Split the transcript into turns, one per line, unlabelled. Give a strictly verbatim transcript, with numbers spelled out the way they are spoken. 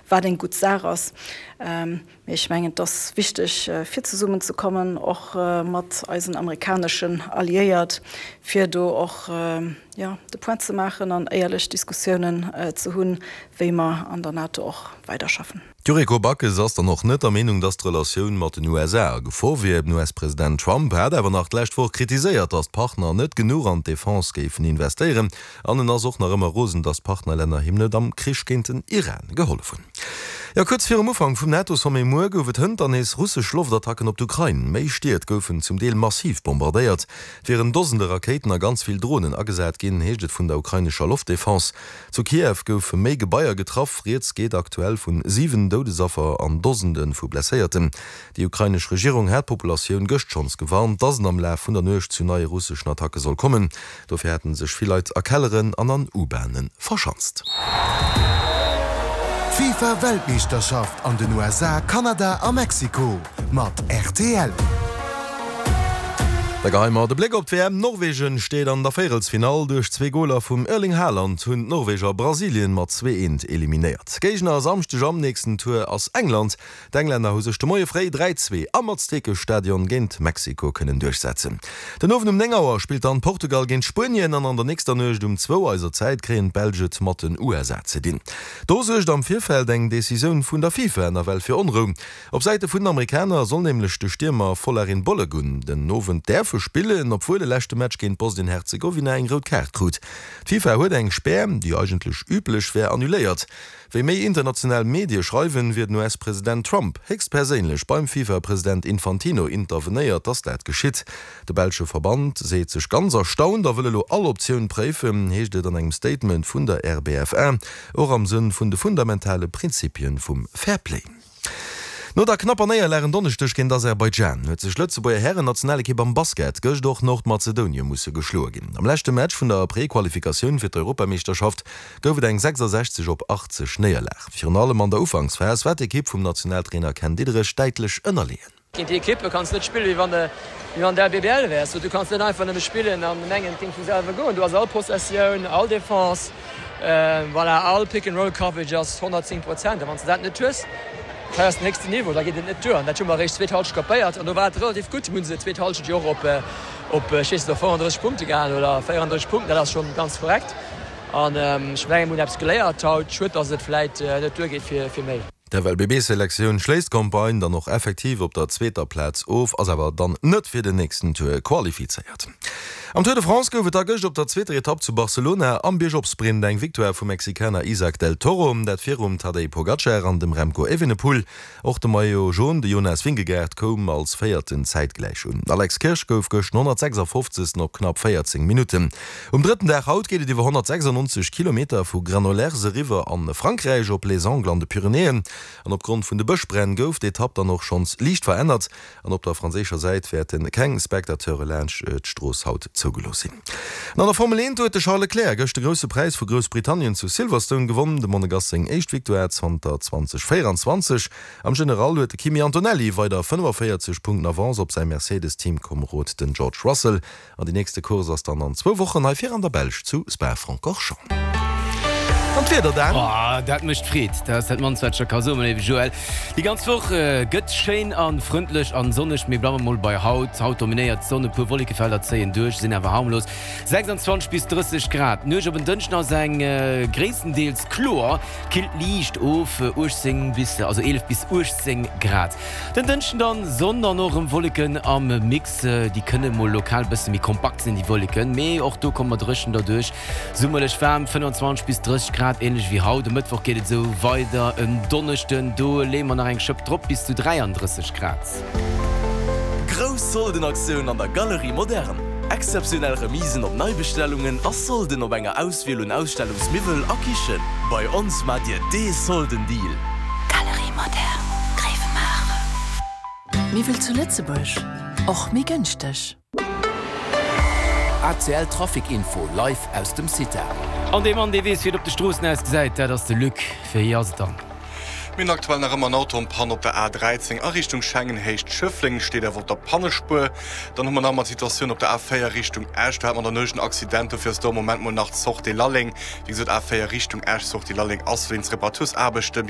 Wat eng gutt Saach ass. Mee ech mengen, et ass wichteg, fir zesummenzekommen, och mat eisen amerikaneschen Alliéiert, fir do och, jo, de Point ze maachen an éierlech Diskussiounen ze hunn, wéi mer an der NATO och weiderschaffen.
D'Yuriko Backes ass dann och net der Meenung, datt d'Relatioun mat den U S A a Gefor wier. Den U S-President Trump hat awer nach d'lescht Woch kritiséiert, datt d'Partner net genuch an d'Defense géifen investéieren. An en ass och nach ëmmer rosen, datt d'Partnerlänner him net am Krich géint den Iran gehollef hunn. Jo, kuerz virum Ufank vum NATO-Sommet muer gouf et hënt dann nees russesch Loftattacken op d'Ukrain. Méi Stied goufen zum Deel massiv bombardéiert. Et wieren Dosende Rakéiten a ganz vill Dronen agesat ginn, heescht et vun der ukrainescher Loftdefense. Zu Kiew goufe méi Gebaier getraff. Rieds geet aktuell vun siwen Doudesaffer an Dosende vu Blesséierten. Déi ukrainesch Regierung hat d'Populatioun gëscht schonns gewarnt, dass et am Laf vun der Nuecht zu neie russeschen Attacke soll kommen. Dofir hätte sech vill Leit a Kelleren an an U-Bahne verschanzt.
D'FIFA Weltmeeschterschaft an den U S A, Kanada a Mexiko mat R T L.
Da geheie mer de Bléck op d'W M. Norwegen steet an der Véierelsfinall. Duerch zwee Goler vum Erling Haaland hunn d'Norweger Brasilien mat zwee eent eliminéiert. Géigner e Samschdeg am nächsten Tour ass England. D'Englänner hu sech de Moie fréi dräi zwee am Aztekestadion géint Mexiko kënnen duerchsetzen. Den Owend um néng Auer spillt dann Portugal géint Spuenien an an der nächster Nuecht um zwou eiser Zäit kréien d'Belsch et mat den U S A ze dinn. Do suergt am Virfeld eng Decisioun vun der FIFA nawell fir Onrou. Op Säite vun den Amerikaner soll nämlech de Stiermer Folarin Balogun den Owend däerfe spillen, obwuel e leschte Match géint Bosnien-Herzegowina eng rout Kaart krut. D'FIFA huet eng Spär, déi eigentlech üblech wär, annuléiert. Wéi méi international Medie schreiwen, wier den U S-President Trump héchstperséinlech beim FIFA-President Infantino intervenéiert, datt dat geschitt. De belsche Verband seet sech ganz erstaunt a wëll elo all Optioun préifen, heescht et an engem Statement vun der R B F A, och am Sënn vun de fundamentale Prinzipien vum Fairplay. No der knapper Néierlag en Donneschdeg géint Aserbaidschan huet sech d'Lëtzebuerger Hären-Nationalekipp am Basket gëscht och Nordmazedonie musse geschloe ginn. Am leschte Match vun der Prequalifikatioun fir d'Europameeschterschaft gouf et eng sechsasechzeg op achtzeg Néierlag. Virun allem an der Ufanksphas war d'Ekipp vum Nationaltrainer Ken Diederich däitlech ënnerleeën.
Géint déi Ekippe kanns net spillen, wéi wann de wéi wann de L B B L wäers. Du kanns net einfach nëmme spillen an mengen, et géing vum selwer goen. Du has all Possessioun, all Defense, voilà, all Pick-and-Roll-Coverage ass honnertzéng Prozent. A wann s de dat net hues, hei ass den héchsten Niveau, da geet et net duer. An dat hu mer eréischt zweet Halschent kapéiert an do war et relativ gutt. Mir hu se zweet Halschent jo och op, op, ech weess net, op fënnefandrësseg Punkte gehalen oder véierandrësseg Punkten, dat ass schonn ganz korrekt. An ech mengen, mir hunn eppes geléiert haut. Schued, datt et vläit net duergeet fir, fir méi.
D'F L B B-Selektioun schléisst d'Campagne dann och effektiv op der zweeter Plaz of, ass awer dann net fir den nächsten Tour qualifizéiert. Am Tour de France gouf et da gëscht op der zweeter Etapp zu Barcelona am Biergop-Sprint eng Victoire vum Mexikaner Isaac del Toro, dat virum Tadej Pogacar an dem Remco Evenepoel. Och de Maillot Jaune, de Jonas Vingegaard, koum als Véierten zäitgläich un. Alex Kirsch gouf gëscht honnertsechsafofzegsten op knapp véierzéng Minutten. Um drëtten Dag haut geet et iwwer honnertsechsannonzeg Kilometer vu Granollers eriwwer a Frankräich op Les Angles an de Pyrenäen. An opgrond vun de Bëschbränn gouf d'Etapp dann och schonns liicht verännert an op der franséischer Säit wäerte keng Spectateure laanscht d'Strooss haut zougelooss sinn. An an der Formel eent huet de Charles Leclerc gëscht de Grousse Präis vu Groussbritannien zu Silverstone gewonn, dem Monegass seng éischt Victoire zanter zweedausendvéierenzwanzeg. Am General huet de Kimi Antonelli weider fënnefaféierzeg Punkten Avance op säi Mercedes-Teamkomerod, den George Russell. An déi nächste Course ass dann an zwou Wochen hei vir an der Belsch zu Spa-Francorchamps. An d'Wieder dann?
Oh, dat mécht Freed. Dat ass dat mannst, wat ech der ka soen, léiwe Joël. Déi ganz Woch gëtt schéin a frëndlech an sonneg. Mir bleiwe mol bei haut. Haut dominéiert d'Sonn, e puer Wollekefelder zéien duerch, sinn awer harmlos. sechsanzwanzeg bis drësseg Grad. D'Nuecht op en Dënschden ass eng gréisstendeels kloer, killt liicht of, uechtzéng bis, also eelef bis uechtzéng Grad. Den Dënschden dann Sonn an och erëm Wolleken am Mix. Déi kënne mol lokal bësse méi kompakt sinn, déi Wolleken, mee och do komme mer dréchen derduerch. Summerlech waarm, fënnefenzwanzeg bis drësseg Grad, ähnlech wéi haut. E Mëttwoch geet et esou weider. En Donneschden, do leeë mer nach eng Schëpp drop, bis zu dräiandrësseg Grad.
Grouss Soldenaktioun an der Galerie Moderne! Exzeptionell Remisen op Neibestellungen a Solden op enger Auswiel un Ausstellungsmiwwel a Kichen. Bei ons maacht Dir dee Soldendeal!
Galerie Moderne, Grevenmacher. Miwwel zu Lëtzebuerg, och méi gënschteg.
A C L Trafic Info live aus dem CITA.
An dee Mann, dee weess, wéi et op de Stroossen ausgesäit, dat ass de Luc. Wéi ass et dann?
Mir hunn aktuell nach ëmmer en Auto en panne op der A dräizéng a Richtung Schengen, Héicht Schëffleng, steet awer op der Pannespuer. Dann hu mer nach ëmmer d'Situatioun op der A véier Richtung Esch, do hat mer an der Nuecht en Accident, dofir ass do am Moment mol nach d'Sortie Lalleng. Wéi gesot, A véier Richtung Esch, Sortie Lalleng ass wéinst Reparatursaarbechte.